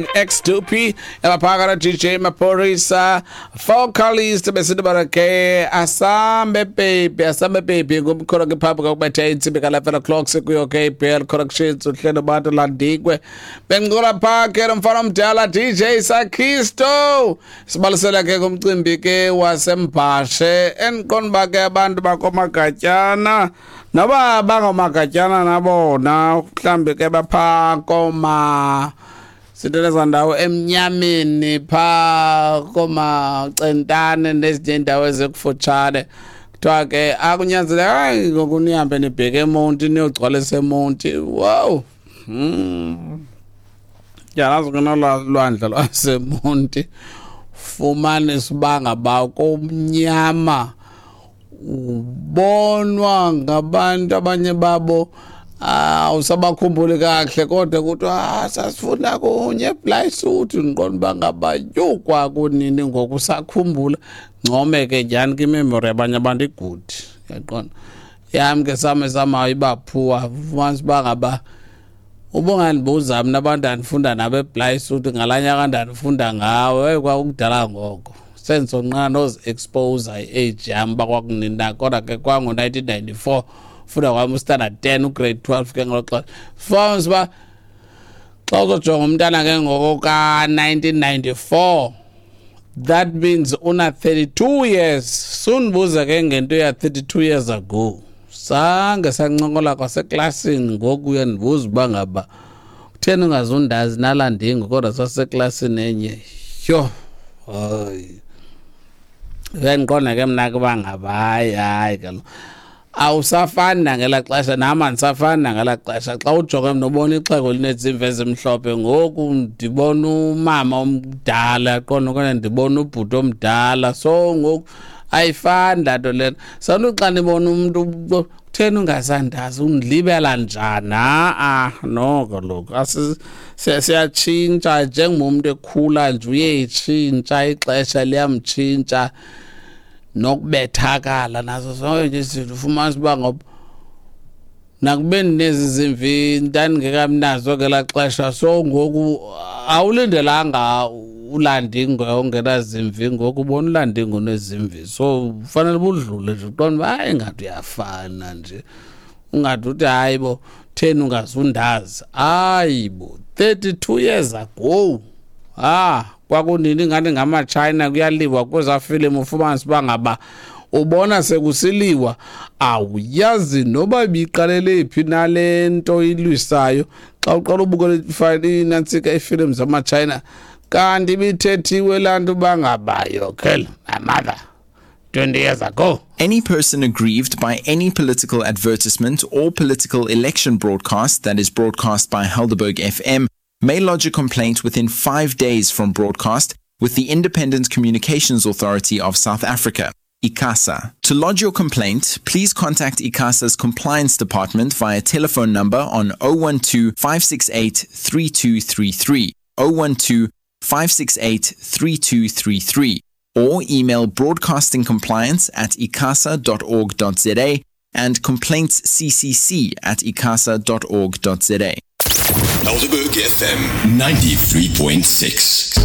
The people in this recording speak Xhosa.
X2P emaphaka DJ Maphorisa vocalist besithi barake asambe baby, asambe baby ngumkholo ke phambi kokubetha intsimbi ka-11 o'clock sikuyo ke ibl corrections uhlelo bantu landikwe bencokola phaa ke nomfana omdala DJ Sakhisto sibalisela ke kumcimbi ke wasembhashe endiqonda uba ke abantu bakomagatyana noba bangomagatyana nabona mhlawumbi ke baphaa koma sinteleza ndawo emnyameni phaa koomacentane nezinye iindawo ezikufutshane. Kuthiwa ke akunyanzelekanga ngoku nihambe nibheke eMonti niyogcwalisa eMonti. Wow. Yalazi ke nolwandle lwaseMonti fumanisa uba ngaba kumnyama ubonwa ngabantu abanye babo awusabakhumbuli kakuhle kodwa kuthiwa ah, sasifunda kunye eblayisuthi ndiqonda uba ngaba yho kwakunini ngoku usakhumbula. Ncome ke nyhani ke imemory yabanye abantu igudi, uyaqonda. Yam ke same samayo ibaphuwa ufumanisa uba ngaba ubungandibuza mna abantu andifunda nabo eblayisuthi ngalaa nyaka ndandifunda ngawo, eyi kwakukudala ngoko. Sendisonqana nozi-expose i-age yam uba kwakunini na, kodwa ke kwango-1994 funda kwam ustandard 10 ugrade 12 ke ngelo xesha. Fumanisa uba xa uzojonga umntana ke ngoko ka-1994, that means una 32 years. Sundibuza ke ngento ya 32 years ago, sange sancokola kwaseklasini. Ngoku uyandibuza uba ngaba kutheni ungazundazi nalandingo, kodwa saseklasini enye. Yho, hayi, uyandiqonda ke mna ke uba ngaba hayi hayi kaloku awusafani nangela xesha, nam andisafani nangela xesha. Xa ujonge mna ubona ixhego linezimvi ezimhlophe, ngoku ndibona umama omdala, qonda, okanye ndibona ubhuti omdala. So ngoku ayifani laa nto lena. Santu xa ndibona umntu, kutheni ungasandazi, undilibela njani? Ha-a, no kaloku siyatshintsha njengomntu ekhula nje, uyetshintsha, ixesha liyamtshintsha nokubethakala nazo zonke nje izinto. Ufumanisa uba ngoba nakubeni nezi zimvi ndandingekamnazo ngelaa xesha, so ngoku awulindelanga ulandingo ongenazimvi, ngoku ubona ulandingo onezimvi, so ufanele budlule nje uqonda uba hayi ingathi uyafana nje, ungathi uthi hayi bo theni ungazundazi. Hayi bo, 32 years ago, ah, kwakunini ngathi ngamaTshayina kuyaliwa kwezaa filimu. Ufumanisa uba ngaba ubona sekusiliwa, awuyazi noba ibiqalele phi nale nto ilwisayo. Xa uqala ubukela inantsika iifilimu zamaTshayina, kanti ibithethiwe laa nto uba ngaba you kill my mother 20 years ago. Any person aggrieved by any political advertisement or political election broadcast that is broadcast by Helderberg FM may lodge a complaint within 5 days from broadcast with the Independent Communications Authority of South Africa, ICASA. To lodge your complaint, please contact ICASA's compliance department via telephone number on 012 568 3233, 012 568 3233, or email broadcastingcompliance@icasa.org.za and complaintsccc@icasa.org.za. Helderberg FM 93.6.